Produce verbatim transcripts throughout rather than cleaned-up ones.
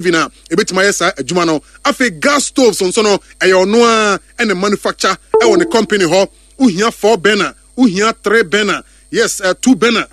Oven a ebetumi ayɛ saa adwuma no. Afei gas stoves nso no, ɛyɛ ɔno a ɛna manufacture ɛwɔ ne company hɔ. Wohia four burner, wohia three burner, yes, uh, two burner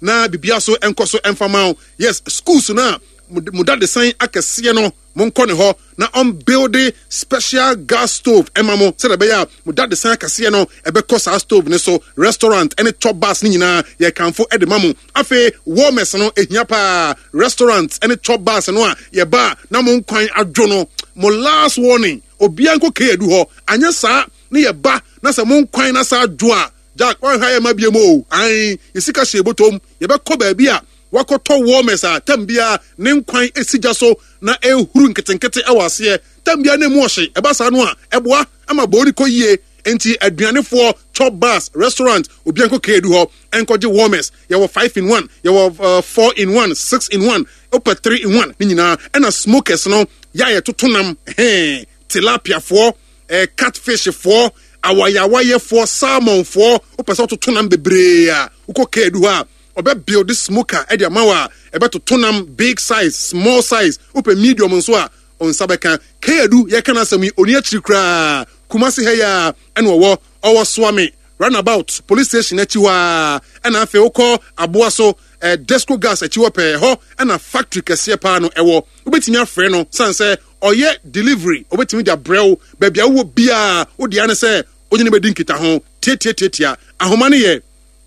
na bibia so nkɔ so mfa ma wo. Yes, schools no a mo dadesan akɛseɛ no, monkɔ ne hɔ na ɔmbuild special gas stove ɛma mo sɛdeɛ ɛbɛyɛ a mo dadesan akɛseɛ no ɛbɛkɔ saa stove ne so. Restaurant ɛne chop bars ne nyinaa, yɛkamfo ɛde ma mo. Afei warmers no ehia paa. Restaurant ɛne chop bars no a yɛba a na mo nkwan adwo no, mo last warning, obiara nkɔ kee adu hɔ. Anyɛ saa ne yɛba na sɛ mo nkwan na saa adwo a, Jack, wɔnhwɛ ayɛ ma bie mu o. Ae, yɛsika hyɛ bɔtɔm, yɛbɛkɔ baabi a wakɔtɔ warmers a tam biara ne nkwan esi gya so na ehuru nketenkete ɛwɔ aseɛ tam biara na emu ɔhye. Ɛba saa no a, ɛboa ama bɔɔli kɔ yie. Nti aduanefoɔ, chop bars, restaurant, obiara nkɔ kee du hɔ ɛnkɔgye warmers. Yɛwɔ five in one, yɛwɔ uh, four in one, six in one, wopɛ three in one ne nyinaa. Ɛna smokers no yɛ a yɛtoto nam hɛn, tilapiafoɔ, ɛɛ catfishfoɔ, awayawayɛfoɔ, salmonfoɔ, wopɛ sɛ wototo nam bebree a, wokɔ kee du hɔ a, ɔbɛ build smoker ɛde ama wo a ɛbɛtoto nam big size, small size. Wopɛ medium nso a, ɔnsa bɛka. Keedu yɛka no asɛm yi, ɔni akyiri koraa. Kumase ha yi a ɛna ɔwɔ ɔwɔ Soame Roundabout Police Station akyi hɔ a, ɛna afei wokɔ Aboa so, eh, Desco Gas akyi hɔ pɛɛ hɔ ɛna factory kɛseɛ paa no ɛwɔ. Wobɛtumi afrɛ no san sɛ ɔyɛ delivery, wobɛtumi de abrɛ wo baabi a wowɔ biaa. Wode ne sɛ wonye ne bɛdi nkita ho tiatiatiatia. Ahoma no yɛ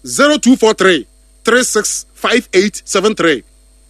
zero two four three three six five eight seven three,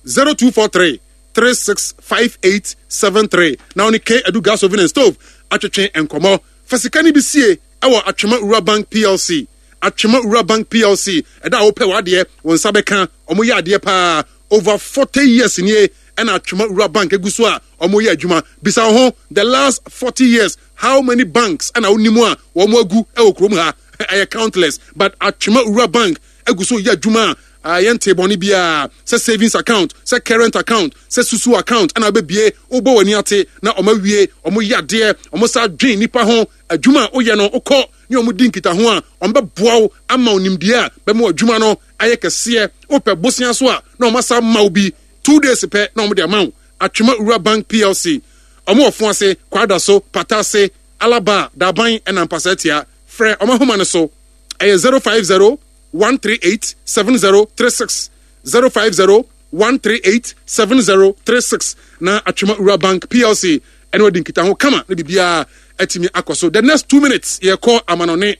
zero two four three three six five eight seven three, na wɔne K Adu Gas Oven and Stove atwetwe nkɔmmɔ. Fa sika no bi sie ɛwɔ Atwema Rural Bank P L C. Atwema Rural Bank P L C, ɛda a wopɛ w'adeɛ, wɔn nsa bɛka. Wɔn yɛ adeɛ paa. Over forty years nie ɛna Atwema Rural Bank egu so a wɔn yɛ adwuma. Bisa wɔn ho, the last forty years, how many banks ɛna wonim a wɔn agu ɛwɔ kurom ha? Ɛyɛ countless, but Atwema Rural Bank egu so yɛ adwuma a yɛn te bɔne biara, sɛ savings account, sɛ current account, sɛ susu account ɛna wobɛbie, wobɔ w'ani ate na ɔma wie. Ɔmo yɛ adeɛ, ɔmo sa dwen nipa ho. Adwuma a woyɛ no, wokɔ ne ɔmo di nkitaho a, ɔmo bɛboa wo ama wo nimdeɛ a bɛma adwuma no ayɛ kɛseɛ. Wopɛ bosea so a, na ɔmo asa ma wo bi two days pɛ na ɔmo de ama wo. Atwema Rural Bank P L C, ɔmo wɔ fo ase, Kwada so, Pata ase, Alaba, Daban ɛna Mpasa Tia. Frɛ ɔmo ahoma no so, ɛyɛ zero five zero one three eight seven zero three six, zero five zero one three eight seven zero three six, na Atwema Rural Bank P L C ɛne wadi nkitaho kama na biribiara atumi akɔ so. The next two minutes yɛkɔ amanɔne.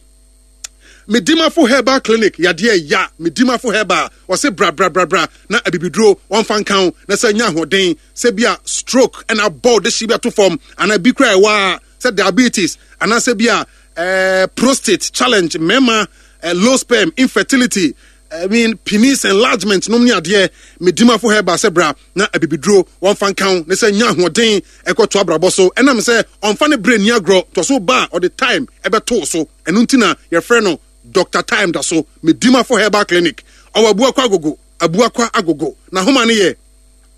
Medimafo Herbal Clinic, yadeɛ ya Medimafo Herbal wɔse bra bra bra bra na abibiduro wɔmfa nka wo na sɛ nya ahoɔden, sɛ bi a stroke ɛna abɔ de hye bi ato fam, anaa bi kora ɛwɔ a sɛ diabetes, anaasɛ bi a eh, prostate challenge, mmarima eh, low sperm, infertility, I mean, penis enlargement nom ne adeɛ. Medimafo Herbal sɛ bra na abibiduro wɔmfa nka wo ne sɛ nya ahoɔden ɛkɔto abrabɔ so. Ɛnam sɛ ɔmfa ne berɛ ni agorɔ tɔ so ba a, ɔde time ɛbɛtoo so. Ɛno nti na yɛfrɛ no Doctor Time da so. Medimafo Herbal Clinic ɔwɔ Abuakwa Agogo, Abuakwa Agogo. Na homa no yɛ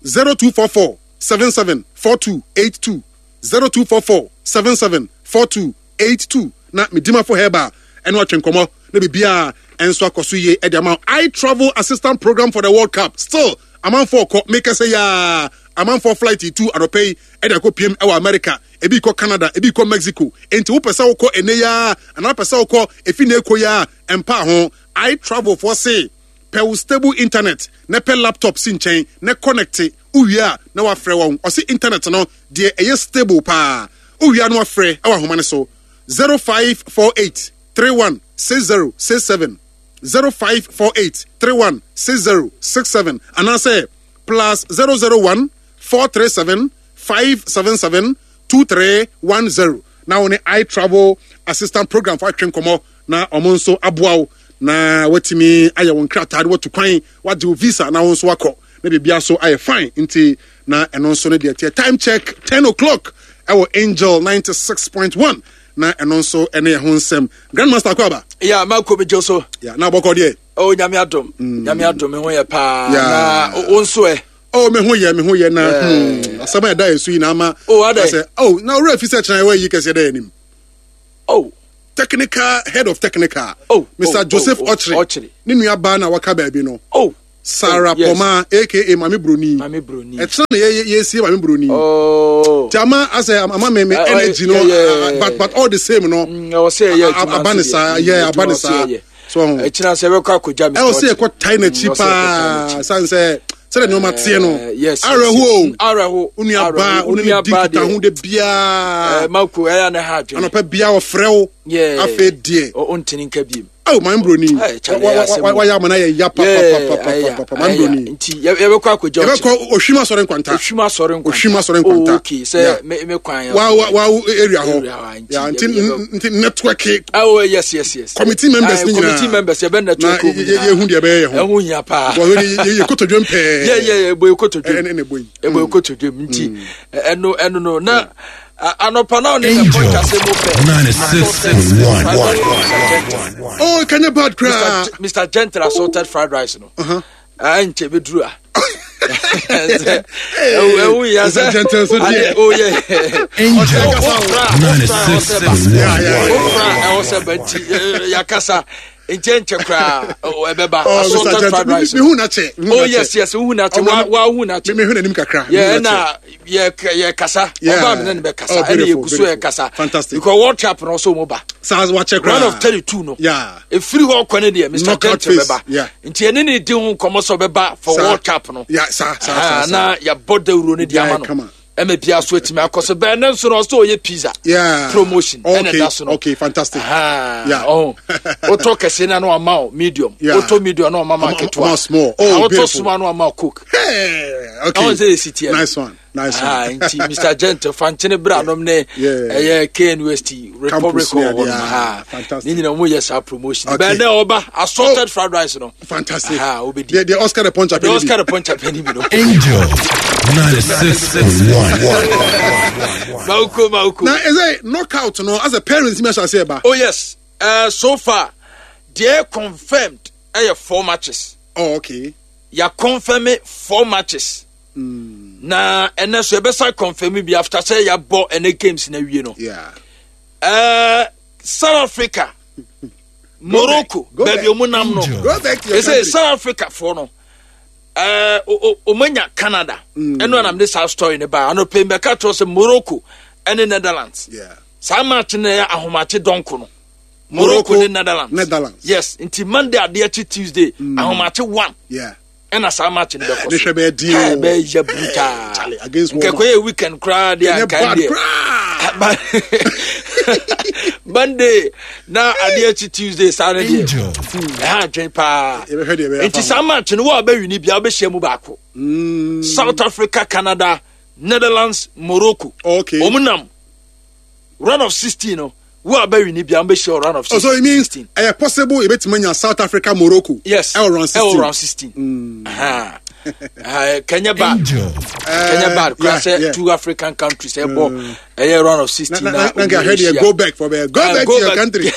zero two four four seven seven four two eight two, zero two four four seven seven four two eight two, na Medimafo Herbal ɛno atwe nkɔmmɔ na biribiaa ɛnso akɔ so yie ɛde ama. I Travel Assistant Program for the World Cup, still amanfoɔ kɔ. Meka sɛ yaa amanfoɔ flight tu anɔpɛ yi ɛde akɔ piem ɛwɔ America, ebi kɔ Canada, ebi kɔ Mexico. Enti wopɛ sɛ wokɔ ɛnɛ yaa anaa wopɛ sɛ wokɔ efi na ekɔ yaa, ɛmpa ho. I Travel foɔ se pɛ wo stable internet na pɛ laptop si nkyɛn na connect. Wowie a na wafrɛ wɔn. Ɔse internet no deɛ ɛyɛ stable paa. Wowie a na wafrɛ ɛwɔ ahoma no so zero five four eight three one six zero six seven, zero five four eight three one six zero six seven, anaasɛ plus zero zero one four three seven five seven seven two three one zero, na wo ne I Travel Assistant Program fo atwe nkɔmmɔ na ɔmo nso aboa wo na watumi ayɛ wɔn nkrataa de watu kwan, wagye wo visa na wo nso wakɔ na biribia so ayɛ fine. Nti na ɛno nso no deɛ teɛ. Time check ten o'clock ɛwɔ Angel ninety-six point one, na ɛno nso ɛne ɛho nsɛm. Grandmaster, akɔ aba. Ya, mako mi gye so. Ya, na abɔkɔ deɛ? Oh, Nyame adom, Nyame adom, me ho yɛ paa. Na wo nso ɛ? Oh, me ho yɛ, me ho yɛ na hmm, asɛm a ɛda yɛ so yi na ama. Oh, adɛ? Oh, na owurɛ fi sɛ kyerɛ ɛwɔ yi kɛseɛ dɛ yɛ anim. Oh. Technical head of technical, oh Mister Oh, Joseph oh, Ɔkyere Ɔkyere. Ne nua baa na waka baabi no. Oh. Sarah Oh, yes. Poma aka Mame Broni. Mame Broni. Ɛkyerɛ na yɛ yɛsie Mame Broni. Oh. Nti ama asɛ ama me me Uh, uh, energy no yeah, yeah, yeah. but but all the same no. Mm, ɛwɔ sɛ yɛyɛ adwuma Aba ne nso deɛ. saa Mm, yɛ aba adwuma ne wɔ sɛ saa. yɛyɛ. So ɔho. Ɛkyina sɛ yɛbɛkɔ akɔgya Mr. Ɛwɔ sɛ Okyere. yɛkɔ tae n'akyi Mm, ɛwɔ sɛ yɛkɔ tae paa n'akyi. san sɛ sɛdeɛ nneɛma teɛ no. Eh, yes, yes, Awerɛho o. yes. Awerɛho. Wo nua baa Awerɛho. wo ne Wo nua ne di baa nkitaho deɛ. de biara. Eh, Mako ɛyɛ ne ha adwene. Anɔpɛ biara ɔfrɛ wo. Yeah. Afei deɛ. Ɔ- ɔntini nka biem. Awo Mame Broni. Hey, Charlie, ɛyɛ asɛm o. Wayɛ ama no ayɛ ya papapapapapa Mame Yeah, Broni. nti yɛ- yɛbɛkɔ akɔgya Okyere. Yɛbɛkɔ Ohwim Asɔre Nkwanta. Ohwim Asɔre Nkwanta. Ohwim Asɔre Nkwanta. Oh, okay sɛ Yeah. me me kwan Wa wa wa area hɔ. Area hɔ, nti Yeah, nti yɛ- yɛbɛ- nti network Oh, yes yes yes. committee members Ah, ni nyinaa. Committee members yɛbɛ network Na wɔn yɛ- nyinaa. yɛhu deɛ ɛbɛyɛ yɛ ho. Ɛho hia paa. Because yɛ yɛ kotodwe mpɛɛ. yɛ yɛ yɛ ebo ekotodwe. Ɛne ɛna ɛbɔ yi. Ebo ekotodwe mu nti ɛno ɛno no na a- anɔpa na ɔne the Angel point ase mo pɛ. ninety-six point one. Oh, kanya bad koraa. Mr. Mr. Gentle assorted fried rice no. Uh-huh. Nkyɛ bɛduru a. Ɛwo yɛ Mr. sɛ. Gentle so deɛ. Oh yeah. Angel ninety-six ninety-six point Yeah, yeah, yeah. Ofra ɛwɔ sɛ ba nti eh, yakasa nti ɛnkyɛ koraa ɛbɛba Oh, Mr. assorted Gentle. fried rice. Me hu n'akyɛ. Me hu Oh n'akyɛ. yes yes wohu n'akyɛ Ɔmo- wa wa hu n'akyɛ. Me me hu n'anim kakra. Me yɛ hu n'akyɛ. ɛna yɛ yɛ kasa Yeah. ɔbaa mi ne ne bɛ kasa Oh, ɛna yɛ beautiful, gu so yɛ beautiful. kasa Fantastic. because World Cup no ɔsɔ ɔmo ba Saa wakyɛ koraa. round of thirty two no Yeah. efiri hɔ kɔ ne deɛ Mr. Knockout Gentle phase. bɛba Yeah. nti ɛne ne di ho nkɔmɔ sɛ ɔbɛba for Saa. World Cup no Yeah, saa saa Ah, saa. saa. na yɛabɔ dawuro no de Yeah, ama no kama. ɛma bia so atumi akɔ so bɛn ne nso no ɔsɛ ɔyɛ pizza Yeah. promotion ɛna Okay, ɛda so no okay, fantastic. Ah, Yeah. ɔho wotɔ kɛse na na wama wo medium Yeah. wotɔ medium na wama ma Ama- ketewa ama small. Oh, Ah, wotɔ beautiful. small na wama wo coke Hey, okay. Ɔho sɛ ɛsi teɛ no. Nice one. Nice Ah, one. nti Mr. Gentle fankyene berɛ anom ne Yeah. ɛyɛ K N U S T Republic Campus ne hɔ adeɛ, nom ha fantastic. ne nyina mu yɛ saa promotion Okay. bɛn dɛ ɔba assorted fried rice no Fantastic. Ah, wobɛdi. The, the Oscar the Punch The Oscar the Punch apɛni bi no. Angel ninety-six point one. Mauko mauko. Now, is a knockout no as a parents me say ba. Oh yes, uh, so far deɛ confirmed ɛyɛ four matches. Oh, okay. Yà confirm four matches na ɛnɛ so yɛbɛsa confirm bi after sɛ yɛabɔ ɛnɛ games na wie no. Yeah. uh, South Africa, Morocco, Go back. baabi ɔmo nam no. Angel. Go back to your Ɛsɛ country. South Africa foɔ no ɛɛ o- o- ɔmo Canada ɛno anam de saa story ne ba anɔpɛ mbɛka kyerɛ sɛ Morocco ɛne Netherlands. Yeah. Saa match no yɛ ahomakye dɔnko no, Morocco Morocco, ne Netherlands. Netherlands. Yes, nti Monday adeɛ kye Tuesday ahomakye one Yeah. ɛna saa match no bɛkɔ Ne so. hwɛ bɛyɛ den o. Ɛ, bɛyɛ brutal. Charlie, against nkɛkɔ Walmart. yɛ weekend koraa deɛ Ɛnyɛ anka bad deɛ koraa. Ba- Monday na adeɛ kye Tuesday saa no deɛ Angel ɛha adwen paa. Yɛbɛhwɛ deɛ ɛbɛyɛ Nti afa ho. saa match no wo a bɛwi ni bia wobɛhyia mu baako, South Africa, Canada, Netherlands, Morocco. Okay. Ɔmo nam round of sixteen no, wo a bɛwi ni bia wobɛhyia wɔ round of Oh, so it means sixteen. ɛyɛ possible ebetumi anya South Africa, Morocco. Yes. Ɛwɔ round sixteen. Ɛwɔ round sixteen. Aha. Ah, kɛnyɛ bad. Angel Kɛnyɛ bad kora yeah, sɛ yeah. two African countries ɛbɔ ɛyɛ round of sixteen. Na na na nka hwɛ deɛ go back for bɛyɛ go Ah, back go to your back. country.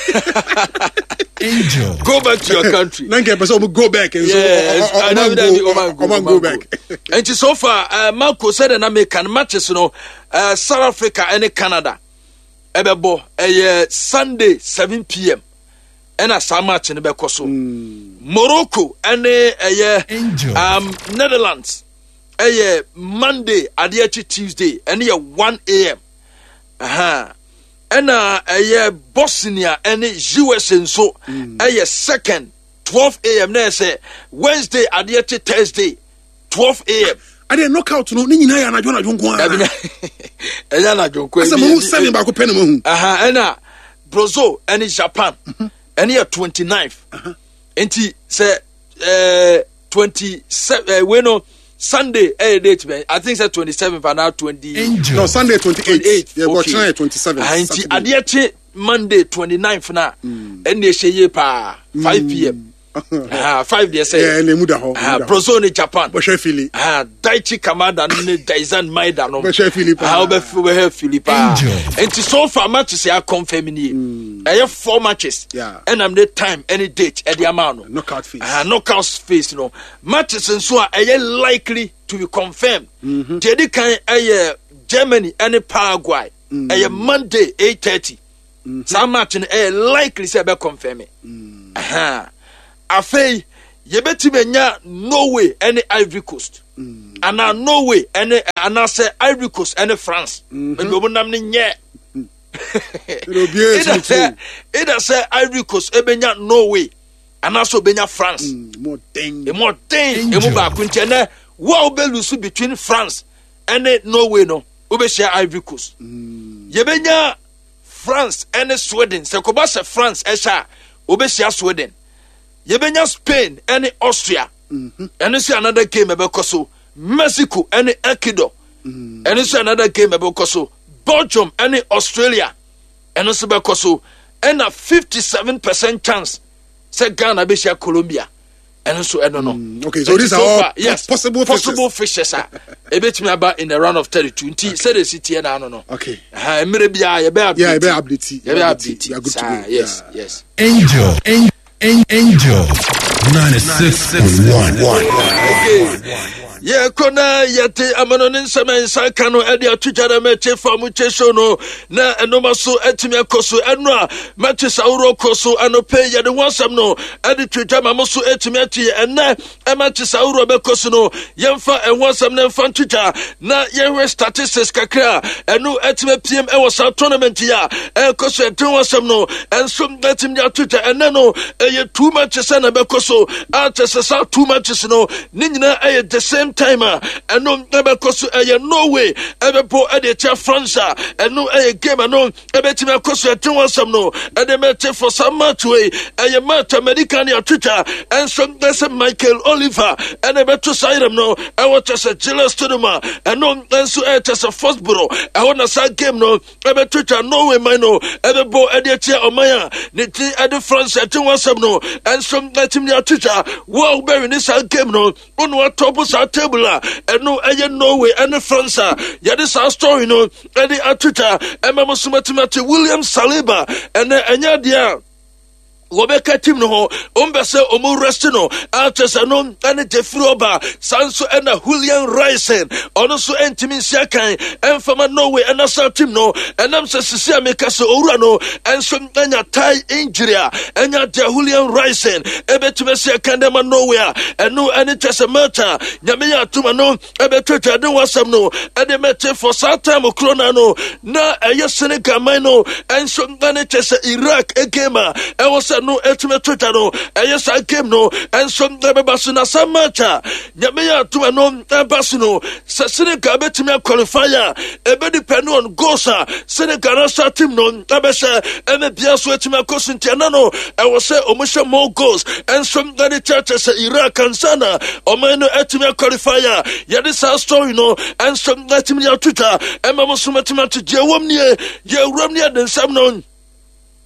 Angel Go back to your country. Na nka pɛ sɛ ɔmo go back nso Yes, ɔ- ɔ- I know ɔmo that go ɔman go, ɔmo go back. Nti so far uh, Marco sɛdeɛ na meka no matches no, uh, South Africa ɛne Canada ɛbɛbɔ ɛyɛ Sunday seven p m ɛna saa match no bɛkɔ so. Morocco ɛne ɛyɛ Angel. um, Netherlands ɛyɛ Monday adeɛ akyi Tuesday ɛne yɛ one a m. Aha. Ɛna ɛyɛ Bosnia ɛne U S A nso ɛyɛ second twelve a m na ɛyɛ sɛ Wednesday adeɛ kye Thursday twelve a m. Adeɛ knockout no ne nyinaa yɛ anadwo anadwo nko Dabi ara. na ɛyɛ anadwo nko. Asɛ mo hu seven baako pɛ na mo hu. Aha, ɛna Brazil ɛne Japan ɛne yɛ twenty-nine. Nti sɛ ɛɛ twenty-seven ɛɛ wei no Sunday ɛyɛ date bɛn? I think sɛ twenty-seven anaa twenty. Angel No, Sunday twenty-eight. twenty-eight. Yɛ bɔ kyerɛ yɛ twenty-seven. Ah, nti adeɛ kye Monday twenty-nine na ɛnna ɛhyɛ yie paa five p m. Ah, five deɛ sɛ Ɛɛ na emu da hɔ. ah, Brazil ne Japan. Bɔhwɛ fili. Ah, Daichi Kamada no ne Daizen Maeda no. Bɛhwɛ fili paa. Ah, wobɛf- wobɛhwɛ fili paa. Angel. Nti so far matches yɛ confirm nie, ɛyɛ four matches. Yeah. Ɛnam ne time ɛne date ɛde ama no. Knockout phase. Ah, knockout phase no matches nso a ɛyɛ likely to be confirmed deɛ ɛdi kan ɛyɛ Germany ɛne Paraguay, ɛyɛ Monday eight thirty. Saa match no ɛyɛ likely sɛ ɛbɛ confirm. Aha. Afei Yɛbɛtumi anya Norway ɛne Ivory Coast mm. anaa Norway ɛne, anaasɛ Ivory Coast ɛne France. Ebi wɔn nam ne nyɛ either sɛ either sɛ Ivory Coast ebenya Norway anaasɛ obenya France. Emu ɔden, emu baako. Nti ɛnɛ wo a wobɛ lose between France ɛne Norway no, wobɛhyia Ivory Coast. mm. Yɛbɛnya France ɛne Sweden. Sɛ kɔba sɛ France ɛhyɛ a, wobɛhyia Sweden. Yɛbɛnya Spain ɛne Austria. Ɛno nso another game ɛbɛkɔ so. Mexico ɛne Ecuador, ɛno nso another game ɛbɛkɔ so. Belgium ɛne Australia, ɛno nso bɛkɔ so. Ɛna fifty seven percent chance sɛ Ghana bɛhyia Colombia, ɛno nso ɛno no. Mm, okay, so these are all, yes, possible possible fixtures a ebetumi aba in the round of thirty two. Nti sɛde esi tie na ano no. Okay. Mmerɛ biara yɛbɛ update. Yeah, yɛbɛ update. Yɛbɛ update. Saa, yes yes. Angel, Angel, ninety-six point one. Okay. Yɛkɔ na yɛte amano ne nsɛm a nsa ka no ɛde ato gya na mɛte fa mu kye so no na ɛnoma so atumi akɔ so. Ɛno a mɛte sa ahoroɔ kɔ so anɔpɛ, yɛde ho asɛm no ɛde to dwa ma mo so atumi ate. Yɛ ɛnɛ ɛma te sa ahoroɔ bɛkɔ so no, yɛmfa ɛho asɛm no mfa nto dwa na yɛhwɛ statistics kakra a ɛno atumi apiem ɛwɔ saa tournament yi a ɛkɔ so. Ɛde ho asɛm no ɛnso atumi de ato dwa. Ɛnɛ no ɛyɛ two matches ɛna ɛbɛkɔ so a kyɛ sɛ saa two matches no ne nyinaa ɛyɛ the same time a ɛno ɛbɛkɔ so. Ɛyɛ Norway ɛbɛbɔ ɛde akyia France a ɛno ɛyɛ game ɛno ɛbɛtumi akɔ so. Ɛde ho asɛm no ɛde mɛte for saa match wei, ɛyɛ match America ne atwitwa ɛnso ɛsɛ Michael Oliver ɛna ɛbɛto saa yerɛm no ɛwɔ kyɛ sɛ Gillette Stadium a ɛno nso ɛyɛ kyɛ sɛ Foxborough ɛhɔ na saa game no ɛbɛtwitwa. Norway man no ɛbɛbɔ ɛde akyia ɔman a ne ti ɛde France. Ɛte ho asɛm no ɛnso ɛtumi de atwitwa. Wo a wobɛwe ne saa game no, wone watɔpo saa table a ɛno ɛyɛ Norway ɛne France a yɛde saa story no ɛde atwitwa ɛma mo so matumi ate. William Saliba, ɛnɛ ɛnyɛ adeɛ a wɔbɛka team no ho. Ɔmbɛ sɛ ɔmo rest no akyɛ sɛ no ɛne Jeffrey ɔba saa nso ɛna Julian Ryerson, ɔno nso ɛntumi nsi akan ɛmfama Norway ɛna saa team no, ɛnam sɛ sisi a meka sɛ owura no ɛnso ɛnya thigh injury a ɛnya deɛ Julian Ryerson ɛbɛtumi asi akan dɛ ma Norway a ɛno ɛne kyɛ sɛ match a Nyame yɛ atoma no ɛbɛtwatwa de ho asɛm no ɛde mɛte for saa time koro na no na ɛyɛ Senegal man no ɛnso ɛne kyɛ sɛ Iraq game a ɛwɔ sɛ no ɛtumi twatwa no, ɛyɛ saa game no ɛnso ɛbɛba so. Na saa match a Nyame yɛ atoma no ɛba so no, sɛ Senegal bɛtumi aqualify a, ɛbɛ depend on goals a Senegal national team no ɛbɛhyɛ ɛne bia so ɛtumi akɔ so. Nti ɛna no ɛwɔ sɛ ɔmo hyɛ more goals ɛnso ɛde kyerɛkyerɛ sɛ Iraq ansa na ɔman no ɛtumi aqualify a yɛde saa story no ɛnso ɛtumi de atwitwa ɛma mo so mɛtumi ato deɛ wɔm nie. Yɛwuram ne yɛde nsɛm no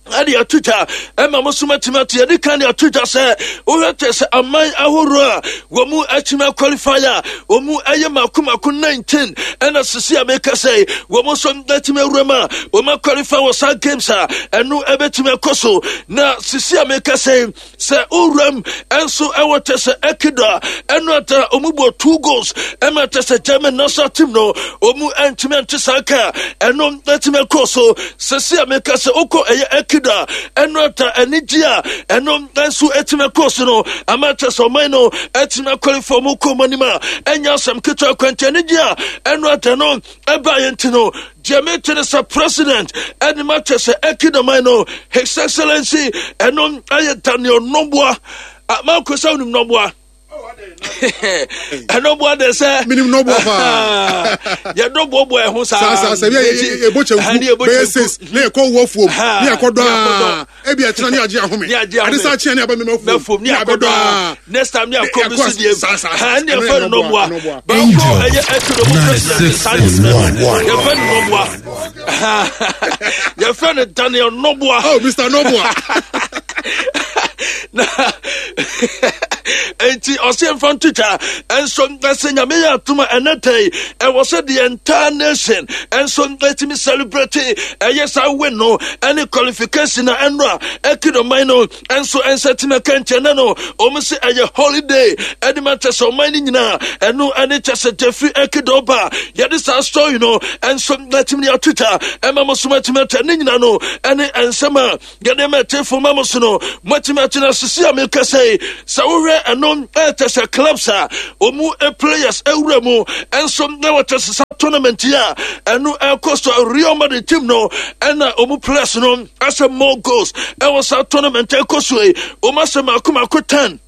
ɛde ato dwa ɛma mo so matumi ato. Yɛde ka de ato dwa sɛ wohwɛ kyɛ sɛ aman ahoroɔ a wɔn mu atumi aqualify a wɔn mu ɛyɛ mako mako nineteen, ɛna sisi a meka sɛ wɔn nso atumi awura mu a wɔn aqualify wɔ saa games a ɛno ɛbɛtumi akɔ so. Na sisi a meka sɛ sɛ owuram ɛnso ɛwɔ kyɛ sɛ Ecuador, ɛno ata ɔmu bɔ two goals ɛma kyɛ sɛ German national team no ɔmu ɛntumi ɛnte saa ka ɛno ɛtumi ɛkɔ so. Sɛsi a meka sɛ wokɔ ɛyɛ Ecuador, ɛno ata anigye a ɛno nso ɛtumi ɛkɔ so no ama kyɛ sɛ ɔman no ɛtumi aqualify ɔmu kɔ ɔmu anim a ɛnyɛ asɛm ketewa kwanti. Anigye a ɛno ata no ɛba yɛn ti no deɛ mete ne sɛ president ɛne ma kyɛ sɛ Ecuador man no, His Excellency ɛno ɛyɛ Daniel Noboa. Manko sɛ wonim Noboa, ɛno de sɛ minim Noboa paa. Yɛdɔ boaboa ɛho saa. Saa saa sɛ yɛbɔ kyɛnku bɛyɛ six na yɛkɔ wɔ fuom ne yɛkɔ dɔ a ebi ɛkyerɛ ne yɛagye ahome ade saa kyerɛ ne aba mema fuom ne yɛabɛdɔ a next time ne akɔ bi so deɛ saa saa saa. Ɛne yɛfɛ no Noboa baako ɛyɛ Ecuador mu president Sanchez, yɛfɛ no Noboa, yɛfɛ no Daniel Noboa. Oh, Mister Noboa. Na nti ɔsɛ mfa ntwitwa ɛnso ɛsɛ Nyame yɛ atom a ɛnɛ tɛi ɛwɔ sɛ the entire nation ɛnso ɛtumi celebrate ɛyɛ saa win no ɛne qualification na ɛno a Ecuador man no ɛnso ɛnsɛ tumi ɛka. Nkyɛn no ɔmo sɛ ɛyɛ holiday ɛde ma kyɛ sɛ ɔman no nyinaa ɛno ɛne kyɛ sɛ Jeffrey Ecuador ba yɛde saa story no ɛnso ɛtumi de atwitwa ɛma mo so matumi atwa ne nyinaa no ɛne ɛnsɛm a yɛde ma ɛtefo ma mo so no moatumi atena sisi a meka sɛ yi, sɛ wohwɛ ɛno ɛkyɛ sɛ clubs a ɔmu players awura mu ɛnso na wɔkyɛ sɛ saa tournament yi a ɛno ɛkɔ so, Real Madrid team no ɛna ɔmu players no ahyɛ more goals ɛwɔ saa tournament ɛkɔ so yi. Ɔmu ahyɛ mako mako ten,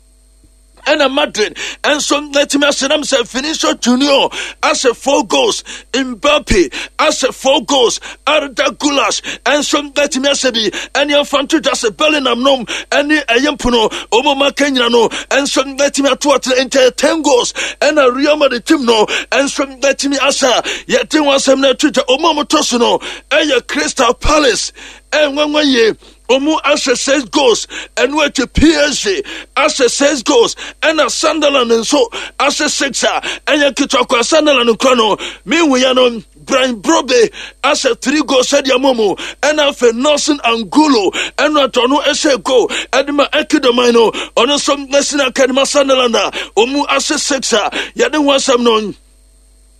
ɛna Madrid ɛnso n'atumi ahyɛ nam sɛ Vinicius Junior ahyɛ four goals, Mbappe ahyɛ four goals, Arda Guler ɛnso n'atumi ahyɛ bi. Ɛne ɛmfa nto dwa sɛ Bellingham nom ɛne ɛyɛ mpono ɔmo maka nyina no ɛnso n'atumi ato atena nkyɛn ten goals, ɛna Real Madrid team no ɛnso n'atumi ahyɛ. Yɛte ho asɛm no ato dwa. Ɔmo a motɔ so no ɛyɛ Crystal Palace, ɛnwanwa yie, ɔmo ahyɛ six goals. Ɛno akyi P S G ahyɛ six goals, ɛna Sunderland nso ahyɛ six a ɛyɛ ketewa kɔ. Sunderland nkura no mehu ya no, Brian Brobbey ahyɛ three goals sɛdeɛ ama mu. Ɛna afei Nelson Angulo ɛno atɔ no ɛhyɛ goal ɛde ma Ekidoman no, ɔno nso ɛsina akadema Sunderland a ɔmu ahyɛ six a yɛde ho asɛm no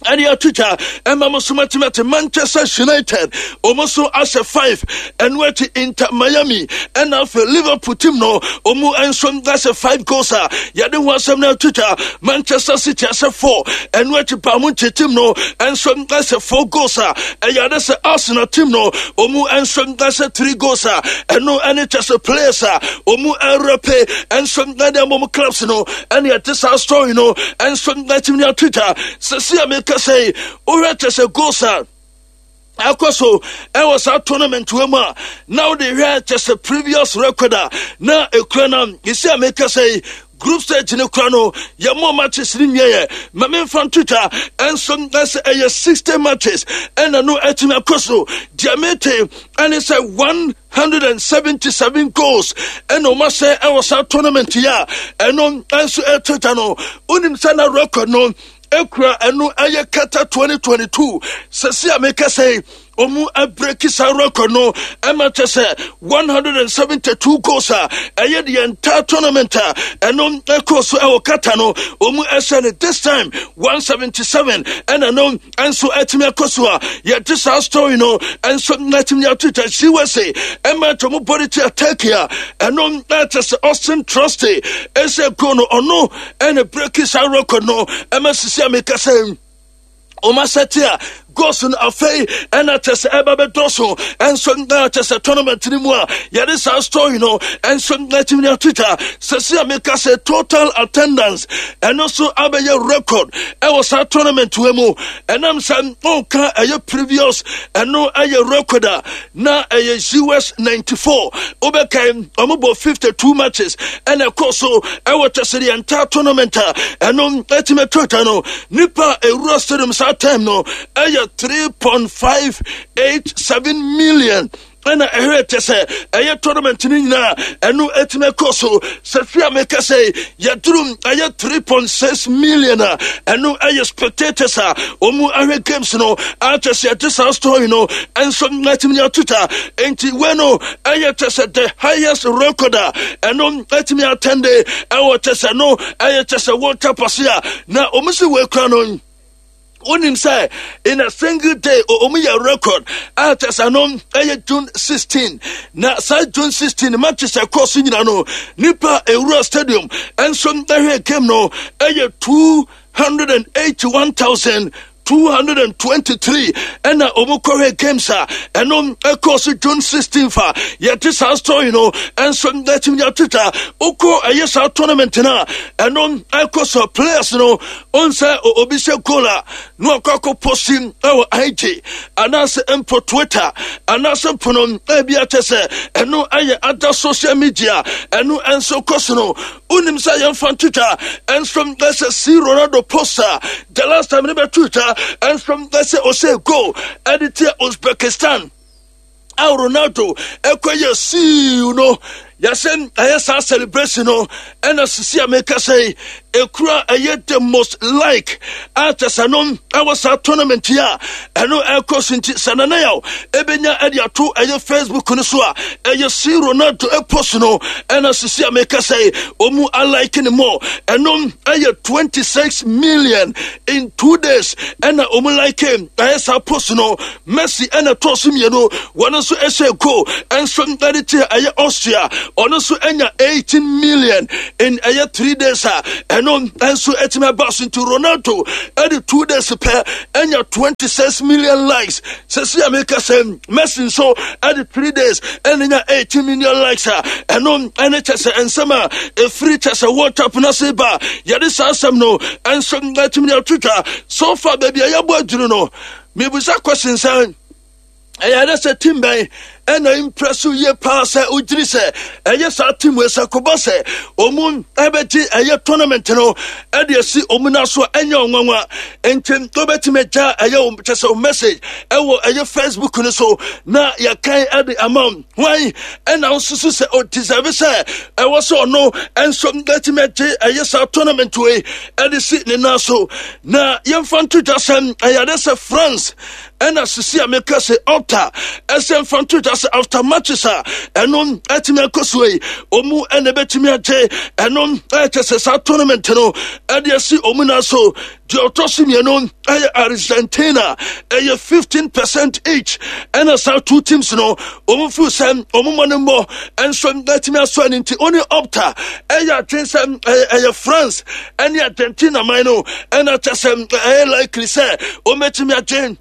ɛne atwitwa ɛma mo so matimate. Manchester United ɔmo nso ahyɛ five. Ɛno akyi Inter Miami ɛna afei Liverpool team no ɔmo nso ahyɛ five goals a yɛde ho asɛm no atwitwa. Manchester City ahyɛ four. Ɛno akyi Bayern team no nso ahyɛ four goals a ɛyɛ ade sɛ Arsenal team no ɔmo nso ahyɛ three goals a ɛno ɛne kyɛ sɛ players a ɔmo ɛrɛpe nso ɛde ama ɔmo clubs no. Ɛne ɛte saa story no nso ɛtumi atwitwa sɛsi a meka sɛ wohwɛ kyɛ sɛ goals a akɔ so ɛwɔ saa tournament wɔ mu a na wode hwɛ kyɛ sɛ previous record a na ekura no yɛsi a meka sɛ group stage ne kura no, yɛmmɔ matches ne nwieyɛ ma memfa ntwitwa ɛnso ɛsɛ ɛyɛ sixty matches ɛna no atumi akɔ so. Deɛ mete ɛne sɛ one hundred and seventy-seven goals ɛna ɔma sɛ ɛwɔ saa tournament yi a ɛno nso ɛtwitwa no. Wonim sɛ na record no ekura ɛno ɛyɛ Qatar twenty twenty-two. Sɛsi a meka sɛ ɔmu abreak saa record no ɛma kyɛ sɛ one hundred and seventy-two goals a ɛyɛ the entire tournament a ɛno ɛkɔɔ so ɛwɔ Qatar no, ɔmu ɛhyɛ no. This time one seventy-seven ɛna no ɛnso ɛtumi akɔ so a yɛde saa story no ɛnso ɛtumi atwitwa. U S A ɛma kyɛ ɔmo bɔde tia Turkey a ɛno ɛkyɛ sɛ Austin Trusty ɛsɛ goal no, ɔno ɛna break saa record no ɛma sisi a meka sɛ ɔma sɛte a goals no afei ɛna kyɛ sɛ ɛba bɛdɔso ɛnso na kyɛ sɛ tournament no mu a yɛde saa story no ɛnso atumi ne atwitwa. Sɛsi a meka sɛ total attendance ɛno nso abɛyɛ record ɛwɔ saa tournament wɔ mu, ɛnam sɛ ɔnka ɛyɛ previous ɛno ɛyɛ record a na ɛyɛ U S ninety-four. Wobɛkae ɔmo bɔ fifty-two matches ɛna ɛkɔ so ɛwɔ kyɛ sɛ the entire tournament a ɛno atumi atwitwa no, nipa a ɛwura stadium saa time no ɛyɛ three point five eight seven million ɛna ɛhwɛ kyɛ sɛ ɛyɛ tournament no nyinaa ɛno atumi akɔ so. Sɛ fi a meka sɛ yɛduru ɛyɛ three point six million a ɛno ɛyɛ spectators a ɔmu ahwɛ games no akyɛ sɛ yɛde saa story no ɛnso atumi ne atota. Enti wei no ɛyɛ kyɛ sɛ the highest record a ɛno atumi attend ɛwɔ kyɛ sɛ no ɛyɛ kyɛ sɛ World Cup ase a na ɔmu si wei kora no. Wonim sɛ in a single day ɔmu yɛ record a kyɛ sɛ no ɛyɛ June sixteen, na saa June sixteen matches ɛkɔɔ so nyina no, nipa ewura stadium ɛnso ɛhwɛ game no ɛyɛ two hundred and eighty-one thousand two hundred and twenty-three ɛna ɔmo kɔhwɛ games a ɛno ɛkɔɔ so June sixteen fa yɛte saa story no ɛnso ɛtumi atwitwa. Wokɔ ɛyɛ saa tournament no a ɛno ɛkɔ so, players no ɔn sɛ obi hyɛ goal a na wakɔ akɔ post ɛwɔ I G anaasɛ mpo Twitter anaasɛ mpo no ɛbi akyɛ sɛ ɛno ɛyɛ other social media ɛno ɛnso kɔ so no. Wonim sɛ yɛmfa ntwitwa ɛnso ɛsɛ si Ronaldo post a the last time ne bɛtwitwa ɛnso ɛsɛ ɔsɛ goal ɛde tia Uzbekistan a Ronaldo ɛkɔyɛ siu no, yɛsɛ ɛyɛ saa celebration no ɛna sisi a meka sɛ ekura ɛyɛ the most like a kyɛ sɛ no ɛwɔ saa tournament yi a ɛno ɛkɔ so. Nti sɛ nana yaw ebenya ɛde ato ɛyɛ Facebook no so a ɛyɛ si Ronaldo ɛpost no ɛna sisi a meka sɛ ɔmu alike ne more, ɛno ɛyɛ twenty six million in two days ɛna ɔmu like ɛyɛ saa post no. Messi ɛna tɔɔ so mmienu, wɔn nso ɛhyɛ goal ɛnso ɛde kyɛ ɛyɛ Austria. Ɔno nso anya eighteen million in ɛyɛ three days a ɛno nso atumi aba so. Nti Ronaldo ɛde two days pɛ anya twenty-six million likes. Sɛsi a meka sɛ Messi nso ɛde three days ɛna nya eighteen million likes a ɛno ɛne kyɛ sɛ nsɛm a ɛfiri kyɛ sɛ World Cup no ase ba, yɛde saa asɛm no ɛnso atumi de ato dwa. So far, baabi a yɛbɔ aduru no, mebusa question sɛn? Ɛyɛ dɛ sɛ team bɛn ɛna impress yie paa sɛ wogyiri sɛ ɛyɛ saa team wei sɛ kɔbɔ sɛ ɔmu ɛbɛgye ɛyɛ tournament no ɛde asi ɔmu no so a, ɛnyɛ ɔnwanwa? Nti wobɛtumi agya ɛyɛ kyɛ sɛ message ɛwɔ ɛyɛ Facebook no so na yɛkan ɛde ama wo. Hwan ɛna wosusu sɛ ɔdeserve sɛ ɛwɔ sɛ ɔno ɛnso bɛtumi agye ɛyɛ saa tournament wei ɛde si ne nan so? Na yɛmfa nto dwa sɛm, ɛyɛ ade sɛ France ɛna sisi a meka sɛ Opta ɛsɛ mfa nto dwa sɛ after matches a ɛno ɛtumi akɔ so yi, ɔmu ɛna ɛbɛtumi agye ɛno ɛkyɛ sɛ saa tournament no ɛde asi ɔmu nan so. Deɛ ɔtɔ so mmienu ɛyɛ Argentina, ɛyɛ fifteen percent each. Ɛna saa two teams no, ɔmu feel sɛ ɔmu mmɔ ne mmɔ ɛnso ɛtumi asɔ ani. Nti ɔne Opta ɛyɛ adwen sɛ ɛyɛ France ɛne Argentina man no ɛna kyɛ sɛ ɛyɛ likely sɛ ɔmɛtumi agye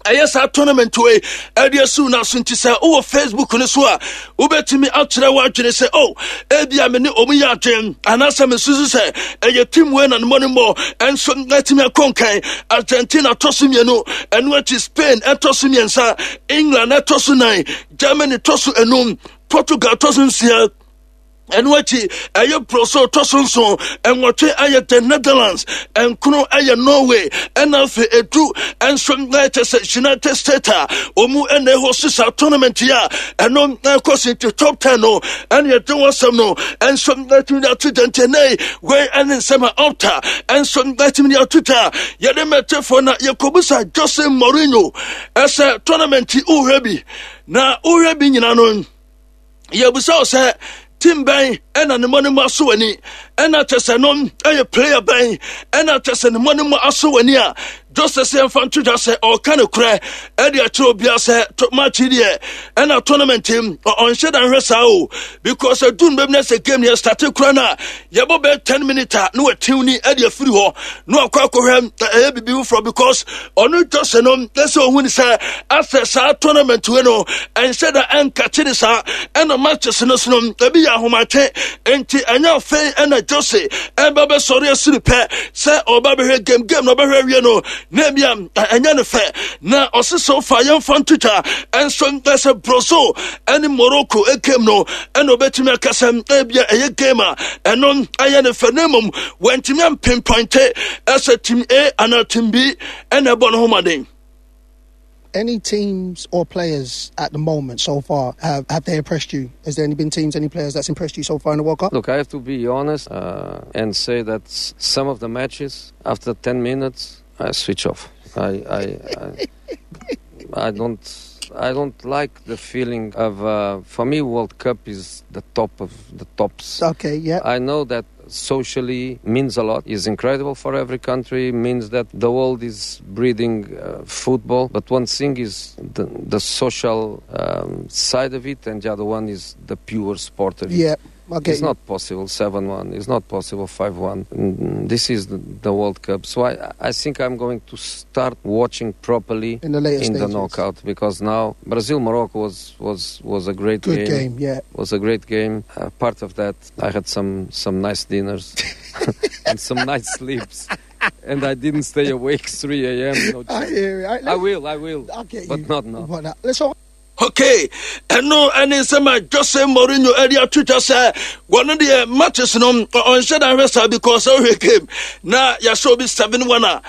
ɛyɛ saa tournament wei ɛde asiw no so. Nti sɛ wowɔ Facebook no so a, wobɛtumi akyerɛ w'adwene sɛ o, oh, ebia me ne ɔmu yɛ adwen anaasɛ mesusu sɛ ɛyɛ team wei na ne mmɔ ne mmɔ ɛnso atumi akɔ nkan. Argentina tɔ so mmienu, ɛno akyi Spain ɛtɔ so mmiɛnsa, England ɛtɔ so nan, Germany tɔ so enum, Portugal tɔ so nsia, ɛno akyi ɛyɛ Brazil tɔ so nson, ɛnwɔtwe ɛyɛ the Netherlands, ɛnkono ɛyɛ Norway, ɛna afei edu ɛnso ɛkyɛ sɛ United States a wɔn ɛna ɛhɔ sisa tournament yi a ɛno ɛkɔ si. Nti top ten no ɛna yɛde wɔn asɛm no ɛnso ɛtumi de ato dwa. Nti ɛnɛ wei ɛne nsɛm a Opta ɛnso ɛtumi de ato dwa. Yɛde mɛtɛfoɔ na yɛkɔbusa Jose Mourinho ɛsɛ tournament yi wohwɛ bi na wohwɛ bi nyina no, yɛbusa wo sɛ team bɛn ɛna ne mmɔ ne mu aso w'ani, ɛna kyɛ sɛ no ɛyɛ player bɛn ɛna kyɛ sɛ ne mmɔ ne mu aso w'ani a? Jose sɛ yɛmfa nto dwa sɛ ɔka no korɛ ɛde akyerɛ obia sɛ match deɛ ɛna tournament mu ɔnhyɛ da nhwɛ saa o, because ɛdu no bɛbi na sɛ game no yɛstarte kora no a, yɛbɔ bɛyɛ ten minutes a, na watiw ni ɛde afiri hɔ na wakɔ akɔhwɛ ɛyɛ biribi foforɔ, because ɔno Jose no ɛsɛ ɔhu ne sɛ afɛ saa tournament wei no ɛnhyɛ da ɛnkakye ne saa, ɛna matches no so no ebi yɛ ahomakye. Nti ɛnyɛ afei ɛna Jose ɛbɛ bɛsɔre asiri pɛ sɛ ɔba bɛhwɛ game game na ɔbɛhwɛ awie no na ebi a ɛnyɛ ne fɛ. Na ɔse sɛ ɔfa yɛmfa ntotwa ɛnso ɛsɛ Brazil ɛne Morocco game no ɛna ɔbɛtumi aka sɛ ebi a ɛyɛ game a ɛno ɛyɛ ne fɛ, na mmom wɔntumi ampinpointe ɛsɛ team A anaa team B ɛna ɛbɔ ne ho mmɔden. Any teams or players at the moment so far, have, have they impressed you? Has there any been teams, any players that's impressed you so far in the World Cup? Look, I have to be honest uh, and say that some of the matches, after ten minutes, I switch off. I, I, I, I don't. I don't like the feeling of. Uh, for me, World Cup is the top of the tops. Okay, yeah. I know that socially means a lot, is incredible for every country, means that the world is breathing uh, football. But one thing is the, the social um, side of it, and the other one is the pure sport of it. Yeah. I get It's you. Not possible seven one. It's not possible five one. Mm, This is the, the World Cup. So I, I think I'm going to start watching properly in the later in the stages. Knockout, because now Brazil Morocco was, was, was a great Good game. game, yeah. Was a great game. Uh, part of that, I had some, some nice dinners and some nice sleeps. And I didn't stay awake three a m. No I chance. hear it. I will, I will. I get But you. not now. But not. Let's all Okay, ɛno ɛne nsɛm a Jose Mourinho ɛde ato dwa sɛ wɔno deɛ matches no ɔnhyɛ da hwɛ saa, because wohwɛ game na yɛahyɛ obi seven one a,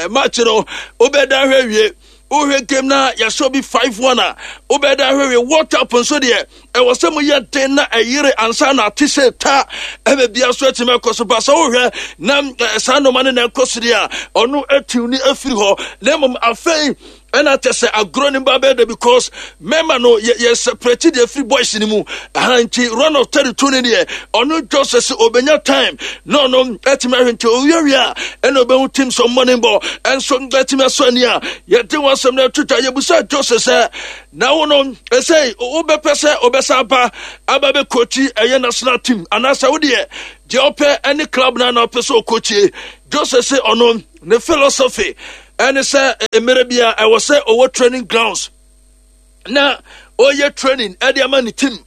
match no wobɛda hwɛ wie. Wohwɛ game na yɛahyɛ obi five one a, wobɛda hwɛ wie. World Cup nso deɛ, ɛwɔ sɛ moyɛ den na ɛyere ansa na ate sɛ ta ɛbɛ bia so atumi akɔ so ba. Sɛ wohwɛ na eh, saa nnɔma no na ɛkɔ so deɛ a, ɔno atiw ne afiri hɔ, na mmom afei Ɛna kyɛ sɛ agorɔ no ba bɛyɛ dɛ because mɛma no yɛ yɛ separate deɛ firi boys no mu aha. Nti round of thirty two no deɛ, ɔno Jose sɛ obɛnya time na ɔno ɛtumi ahwɛ. Nti owiawie a, ɛna ɔbɛhu team sɛ ɔmmɔ bɔ ɛnso ɛtumi asɔ ani a yɛde wɔn asɛm no ato twa. Yɛbusa Jose sɛ na wo no ɛsɛ wobɛpɛ sɛ wobɛsa aba aba bɛkɔkyi ɛyɛ national team anaasɛ wodeɛ deɛ ɔpɛ ɛne club no ana ɔpɛ sɛ ɔkɔkyie. Jose sɛ ɔno ne philosophy ɛne sɛ mmerɛ bi a ɛwɔ sɛ ɔwɔ training grounds na ɔyɛ training ɛde ama ne team,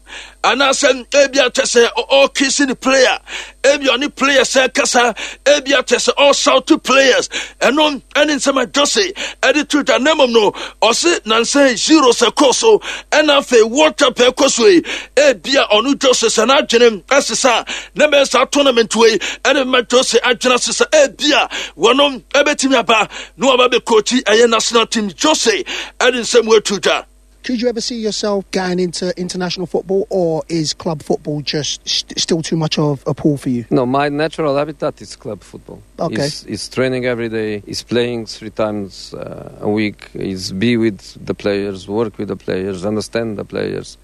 anaasɛ ebi akyɛ sɛ ɔkisi ne player, ebi ɔne players sɛ kasa, ebi akyɛ sɛ ɔshout to players. Ɛno ɛne nsɛm a Jose ɛde to dwa. Na mmom no, ɔse nansan zero sɛ kɔ so, ɛna afei World Cup ɛkɔ so yi, ebi a ɔno Jose sɛ n'adwene ɛsesa na bɛyɛ saa tournament wei ɛne ma Jose adwene asesa, ebi a wɔno ɛbɛtumi aba na wɔba bɛ coach ɛyɛ national team. Jose ɛde nsɛm wɔatu dwa. Could you ever see yourself going into international football, or is club football just st- still too much of a pull for you? No, my natural habitat is club football. Okay. It's, it's training every day, it's playing three times uh, a week, it's be with the players, work with the players, understand the players,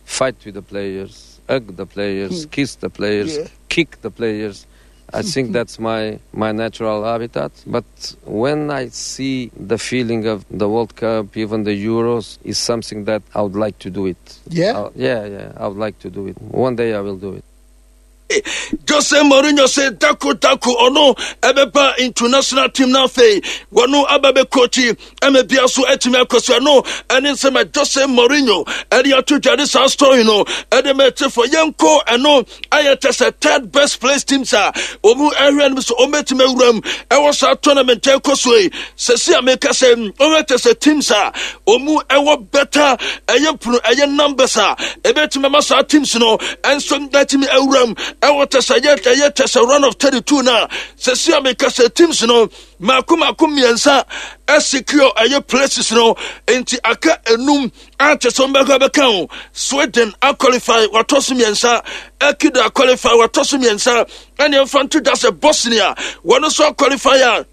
fight with the players, hug the players, kiss the players, Yeah. kick the players. I think that's my, my natural habitat. But when I see the feeling of the World Cup, even the Euros, is something that I would like to do it. Yeah? Uh, yeah, yeah, I would like to do it. One day I will do it. Jose Mourinho sɛ dako dako ɔno ɛbɛba international team no, afei wɔno aba bɛkɔkyi ɛma bia so atumi akɔ so. Ɛno ɛne nsɛm a Jose Mourinho ɛde ato dwa de saa story no ɛde mɛtefo. Yɛnkɔ ɛno ayɛ kyɛ sɛ third best place teams a ɔmu ɛhwɛ no so ɔmɛtumi awura mu ɛwɔ saa tournament ɛkɔ so yi. Sɛsi a meka sɛ ɔhwɛ kyɛ sɛ teams a ɔmu ɛwɔ better ɛyɛ pono ɛyɛ numbers a ɛbɛtumi ama saa teams no ɛnso ɛtumi awura mu ɛwɔ kyɛ sɛ ɛyɛ ɛyɛ kyɛ sɛ round of thirty two na sɛsi a meka sɛ teams no mako mako mmiɛnsa ɛsecure ɛyɛ places no, nti aka enum a kyɛ sɛ ɔmbɛka bɛka ho. Sweden aqualify, watɔ so mmiɛnsa. Ecuador aqualify, watɔ so mmiɛnsa. Ɛne ɛmfa nto dwa sɛ Bosnia wɔn nso aqualify a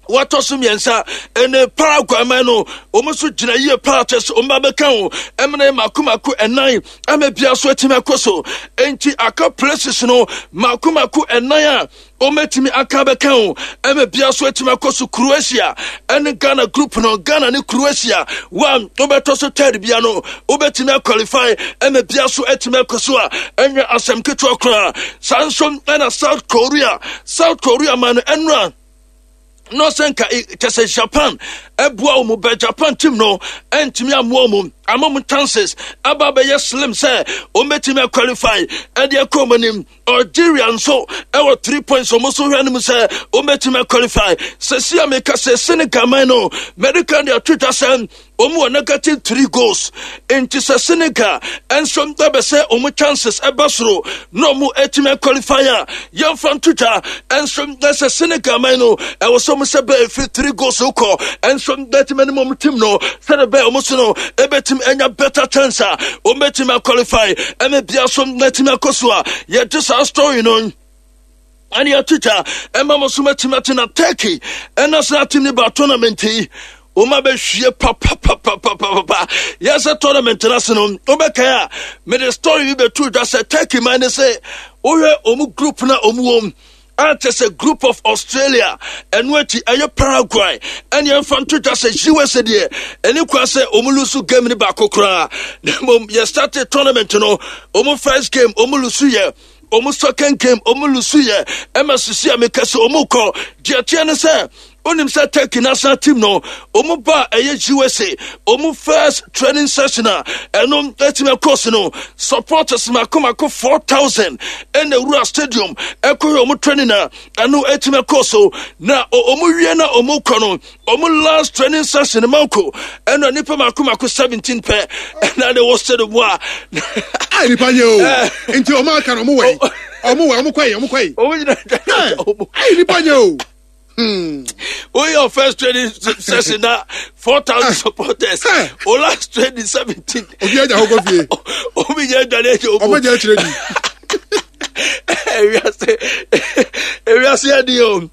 wɔatɔ so mmiɛnsa. Ɛne Paraguay man no, wɔn nso gyina yie paa kyɛ sɛ wɔn ba bɛka ho ɛmene mako mako ɛnan ama bia so atumi akɔ so. Nti aka places no mako mako ɛnan a wɔmɛtumi aka bɛka ho ɛma bia so atumi akɔ so. Croatia ɛne Ghana group no, Ghana ne Croatia one wobɛtɔ so third bia no wobɛtumi aqualify ɛma bia so atumi akɔ so a ɛnyɛ asɛm ketewa koraa. Saa nso ɛna South Korea, South Korea man no, ɛnora na ɔsɛ nka kyɛ sɛ Japan ɛboa wɔn bɛ Japan team no ɛntumi amoa wɔn ama wɔn chances aba abɛyɛ slim sɛ wɔn bɛtumi aqualify ɛde ɛkɔ wɔn anim. Algeria nso ɛwɔ three points, wɔn nso hwɛ anim sɛ wɔn bɛtumi aqualify. Sɛsi a meka sɛ Senegal man no, medical de ato dwa sɛ wɔn wɔ negative three goals, nti sɛ Senegal nso ɛbɛ sɛ wɔn chances ɛba soro na wɔn atumi qualify a, yɛmfa nto dwa nso ɛsɛ Senegal man no ɛwɔ sɛ wɔn sɛ bɛyɛ firi three goals kɔ nso bɛtumi anim wɔn team no sɛde bɛyɛ wɔn so no ɛbɛtumi anya better chance a wɔn bɛtumi qualify ɛmɛ bia so bɛtumi akɔ so a yɛgye saa story no ɛne yɛtwitwa ɛma mo so matumi ate. Na Turkey ɛna sɛ team ne ba tournament yi, wɔn abɛhwie papapapapapa. Yɛsɛ tournament no ase no, wobɛkae a mede story bi bɛtu dwa sɛ Turkey man ne sɛ wohwɛ wɔn group na wɔn wɔ mu a kyɛ sɛ group of Australia, ɛno akyi ɛyɛ Paraguay, ɛne ɛmfa nto dwa sɛ U S A deɛ ɛne kwa sɛ ɔmu lose game no baako koraa. Na mmom yɛ started tournament no, ɔmu first game ɔmu lose, yɛ ɔmu second game ɔmu lose, yɛ ɛma sisi a meka sɛ ɔmu kɔ deɛ teɛ ne sɛ onim sɛ Turkey national team no ɔmu ba ɛyɛ U S A, ɔmu first training session a ɛno ɛtumi ɛkɔ so no, supporters mako mako four thousand ɛna ewura stadium ɛkɔyɛ ɔmu training a ɛno ɛtumi ɛkɔ so. Na ɔmu wie na ɔmu kɔ no, ɔmu last training session mako ɛna nipa mako mako seventeen pɛ ɛna de wɔ stadium mu a. A nipa nye o, nti ɔmo aka no, ɔmo wɛ ɔmo wɛ ɔmo kɔ yi, ɔmo kɔ yi. Ɔmo nyina ɔmo. Ayi, nipa nye o. Hmm. Wey your first training session na four thousand supporters. Eh. O last training seventeen. Obi agya hɔ kɔ fie. Obi nyɛ dwane agya. Ɔmo gya akyerɛ di. Ewiase, ewiase adi o.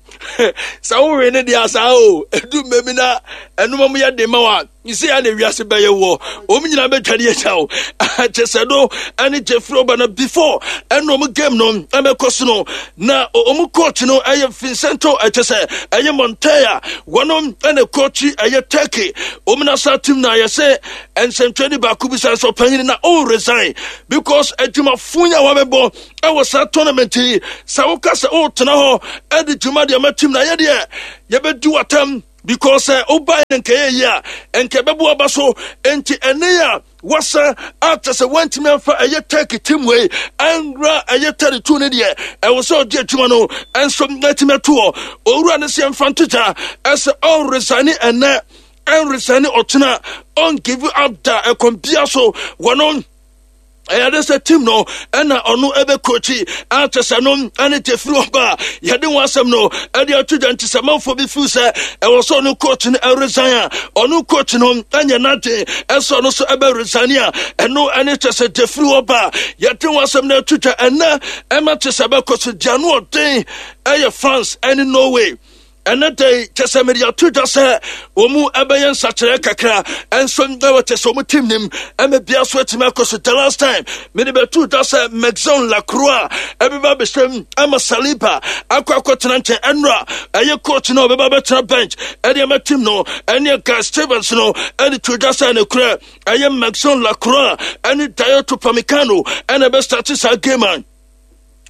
Sɛ wowe ne deɛ asaa o, ɛdu mmɛ bi na ɛnoma mu yɛ den ma wa sɛ yɛ na wiase bɛyɛ wɔ wɔn nyinaa bɛtwa ne agya o. Kyɛ sɛ no ɛne Jeffrey Oba no before ɛna ɔmo game no ɛbɛkɔ so no, na ɔmo coach no ɛyɛ Vincento, ɛkyɛ sɛ ɛyɛ Montella, wɔnom ɛna coach ɛyɛ Turkey ɔmo nasa team, na yɛ sɛ nsɛntwɛni baako bi sɛ sɛ ɔpanyin na ɔn resign because adwumafo yi a wɔabɛbɔ ɛwɔ saa tournament yi, sɛ woka sɛ ɔretena hɔ ɛde dwuma deɛ ma team na yɛ deɛ yɛbɛdi watam because sɛ wobae no nkɛyɛ yi a nkɛ bɛbo aba so. Enti ɛne a wasa ata sɛ woantumi amfa ɛyɛ Turkey team wei anwura ɛyɛ thirty-two no deɛ, ɛwɔ sɛ ɔgye adwuma no ɛnso atumi ato hɔ. Owura no sɛ yɛmfa nto gya ɛsɛ ɔnresign ɛnɛ, ɛnresign ɔkyena, ɔngive up da ɛkɔm bia so. Wɔno ɛyɛ de sɛ team no ɛna ɔno ɛbɛkɔkyi akyɛ sɛ no ɛne tɛfiri ɔba a yɛde ho asɛm no ɛde ato dwa. Nti sɛ manfoɔ bi feel sɛ ɛwɔ sɛ ɔno coach no ɛresign a, ɔno coach no ɛnyɛ n'adwen ɛsɛ ɔno so ɛbɛ resign a, ɛno ɛne kyɛ sɛ tɛfiri ɔba a yɛde ho asɛm no ato dwa. Ɛnɛ ɛma kyɛ sɛ ɛbɛkɔ so gya no ɔden ɛyɛ France ɛne Norway. Ɛnɛ da yi kyɛ sɛ mede ato dwa sɛ wɔn mu ɛbɛyɛ nsakyerɛ kakra ɛnso ɛwɔ kyɛ sɛ wɔn team nim ɛmɛ bia so atumi akɔ so. The last time mede bɛto dwa sɛ Maxence Lacroix ɛbɛba abɛhyɛm ama Saliba akɔ akɔtena nkyɛn. Ɛnora ɛyɛ coach no ɔbɛba bɛtena bench ɛde ama team no ɛne Guy Stevens no ɛde to dwa sɛ ne korɛ ɛyɛ Maxence Lacroix ɛne Dayot Upamecano ɛna ɛbɛstart saa game a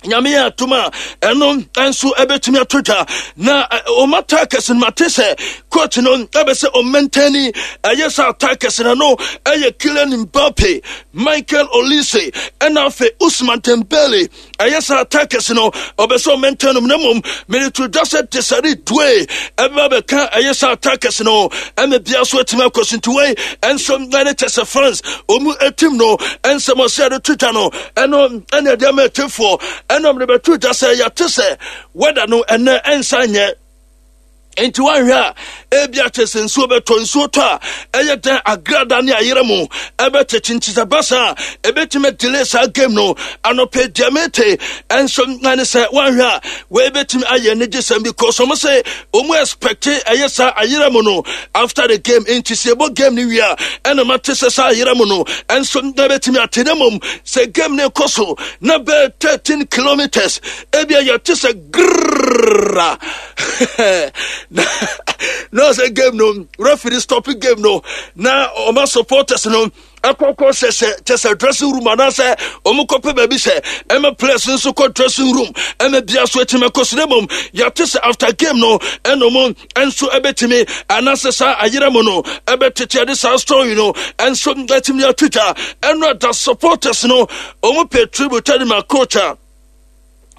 Nyame yɛ atom a ɛno nso ɛbɛtumi ato dwa. Na ɔma attackers no, mate sɛ coach no ɛbɛ sɛ ɔmaintain ɛyɛ sɛ attackers no no ɛyɛ Kylian Mbappe, Michael Olise ɛna afei Ousmane Dembele. Ɛyɛ sɛ attackers no ɔbɛ sɛ ɔmaintain no, na mmom mede to dwa sɛ Desire Doue ɛbɛba bɛka ɛyɛ sɛ attackers no ɛma bia so atumi akɔ so. Nti wei ɛnso ɛne kyɛ sɛ France ɔmu team no ɛnsɛm ɔsɛ ɛde to dwa no, ɛno ɛne ɛde ama ɛtefoɔ. Ɛna mede bɛto dwa sɛ yɛte sɛ weather no ɛnɛ ɛnsa nyɛ, nti woahwɛ a ebi akyɛ sɛ nsuo bɛtɔ. Nsuo tɔ a ɛyɛ dɛn agrada ne ayerɛ mu ɛbɛtete, nti sɛ ba saa ɛbɛtumi delay saa game no. Anɔpɛ deɛ mete ɛnso ɛne sɛ woahwɛ a wei bɛtumi ayɛ anigye sɛm because ɔmo sɛ ɔmo expect ɛyɛ saa ayerɛ mu no after the game. Nti sɛ yɛbɔ game no wie a, ɛna mate sɛ saa ayerɛ mu no ɛnso ɛbɛtumi ate, ne mmom sɛ game no kɔ so na bɛɛ thirteen kilometers ebia yɛte sɛ grrrra na na ɔsɛ game no referee stop game no na ɔma supporters no akɔkɔ sɛ sɛ kyɛ sɛ dressing room anaasɛ ɔmo kɔpɛ baabi sɛ ɛma players nso kɔ dressing room ɛma bia so atumi akɔ so. Ne mmom yɛate sɛ after game no ɛna ɔmo nso ɛbɛtumi anaasɛ saa ayerɛ mu no ɛbɛtete. Ɛde saa story no ɛnso ɛtumi atwitwa ɛno ada supporters no ɔmo pɛ tribute ɛde ma coach a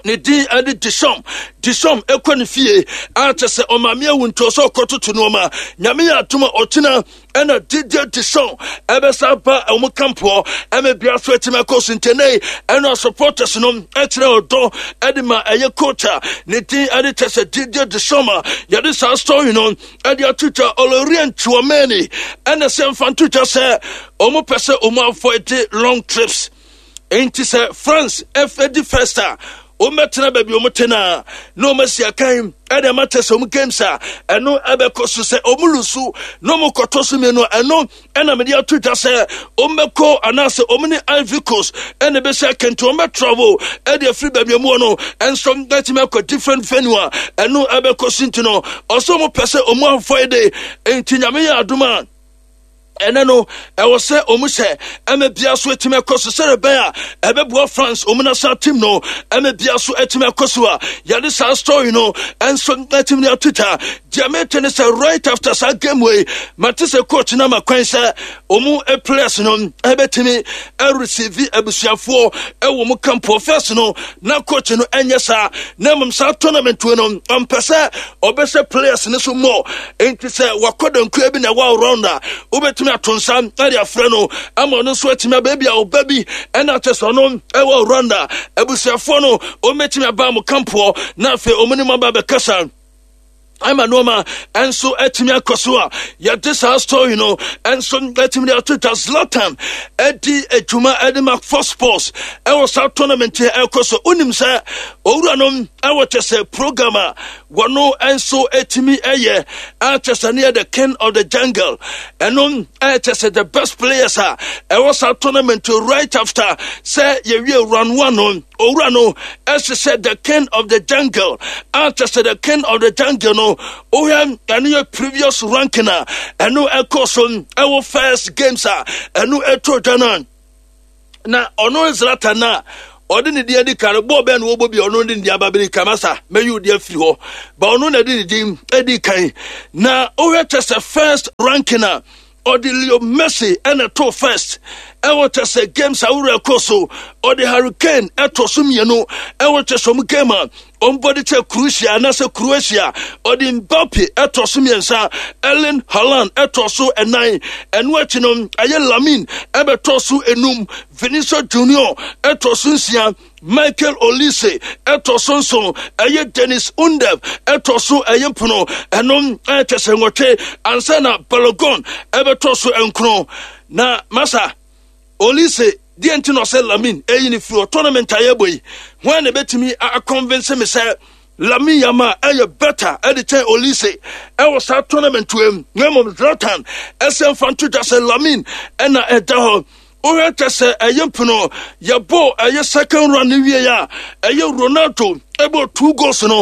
ne din ɛde Deschamps. Deschamps ɛkɔ ne fie akyɛ sɛ ɔmaame awu, nti ɔsɛ ɔkɔtoto nneɛma. Nyame yɛ atom a ɔkyena ɛna Didier Deschamps ɛbɛsa ba ɔmo campoɔ ɛmɛ bia so atumi akɔ so. Ntɛnɛ ɛna supporters no ɛkyerɛ ɔdɔ ɛde ma ɛyɛ coach a ne din ɛde kyɛ sɛ Didier Deschamps a yɛde saa story no ɛde atwitwa. Aurelien Tchouameni ɛna sɛ mfa ntotwa sɛ ɔmo pɛ sɛ ɔmo avoid long trips, nti sɛ France ɛdi first a, wɔmmɛtena baabi wɔn te na na wɔn asi akan ɛde ama kyɛ sɛ wɔn games a ɛno ɛbɛkɔ so. Sɛ wɔn lose na wɔn kɔtɔ so mmienu a, ɛno ɛna mede ato dwa sɛ wɔn bɛkɔ anaasɛ wɔn ne Ivory Coast ɛna ɛbɛsi akan, nti wɔn bɛ travel ɛde afiri baabi wɔn wɔ no ɛnso ɛtumi akɔ different venue a ɛno ɛbɛkɔ so. Nti no ɔsɛ wɔn pɛ sɛ wɔn avoid, nti Nyame yɛ adom a ɛnɛ no ɛwɔ sɛ ɔmu sɛ ɛmɛ bia so atumi akɔ so sɛde bɛn a ɛbɛboa France ɔmu national team no ɛmɛ bia so atumi akɔ so a yɛde saa story no ɛnso atumi de atwitwa. Deɛ mete ne sɛ right after saa game wei, mate sɛ coach no ama kwan sɛ ɔmu players no ɛbɛtumi ɛreceive abusuafoɔ ɛwɔ mu camp. First no na coach no ɛnyɛ saa, na mmom saa tournament wei no ɔmpɛ sɛ ɔbɛhyɛ players no so mmɔ, nti sɛ wakɔ dankua bi na ɛwɔ round a, wobɛtumi ato nsa ɛde afrɛ no ama ɔno nso atumi aba. Bi a ɔba bi ɛna akyɛ sɛ ɔno ɛwɔ Rwanda, abusuafoɔ no ɔmmɛtumi aba mo campoɔ na afei ɔmo ne mu aba bɛkasa ama nneɛma ɛnso atumi akɔ so a yɛde saa story no ɛnso atumi de ato dwa. Zlatan ɛdi adwuma ɛde ma Fox Sports ɛwɔ saa tournament yi ɛkɔ so. Wonim sɛ owura no ɛwɔ kyɛ sɛ program a Wɔno nso etimi ɛyɛ akyɛ sɛ ne yɛ the King of the Jungle. Ɛno ɛkyɛ sɛ the best players a ɛwɔ saa tournament, right after sɛ yɛwie round one no, owura no ɛhyehyɛ the King of the Jungle. Akyɛ sɛ the King of the Jungle no, wohwɛ, ɛno yɛ previous ranking a ɛno ɛkɔ so ɛwɔ first games a ɛno ɛtɔ dwa no, na ɔno Zlatan na ɔde ne din adi kan. Bɔɔl bɛn na wɔbɔ bi ɔno de ne din aba bɛdi kan? Masa mɛyi odi afiri hɔ ba, ɔno na ɛde ne din adi kan. Na wohwɛ, kyɛ sɛ first ranking a ɔde Leo Messi ɛna to first ɛwɔ kyɛ sɛ games ahorow ɛkɔ so. Ɔde Harry Kane ɛtɔ so mmienu ɛwɔ kyɛ sɛ ɔmo game a ɔmbɔde kyɛ Croatia anaasɛ Croatia. Ɔde Mbappe ɛtɔ so mmiɛnsa, Erling Haaland ɛtɔ so ɛnan. Ɛno akyi no, ɛyɛ Lamine ɛbɛtɔ so enum, Vinicius Junior ɛtɔ so nsia, Michael Olise ɛtɔ so nson, ɛyɛ Dennis Undav ɛtɔ so ɛyɛ mpono, ɛno ɛkyɛ sɛ nwɔtwe, ansa na Balogun ɛbɛtɔ so nkron. Na masa Olise deɛ nti na ɔsɛ Lamine ɛyi ne firi tournament a yɛbɔ yi, wɔn na ɛbɛtumi aconvince me sɛ Lamine Yamal ɛyɛ better ɛde kyɛn Olise ɛwɔ saa tournament wɔ mu? Na mmom Zlatan ɛsɛ mfa nto dwa sɛ Lamine ɛna ɛda hɔ. Wohwɛ, kyɛ sɛ ɛyɛ mpono yɛbɔ ɛyɛ second round no wie a, ɛyɛ Ronaldo ɛbɔ two goals no.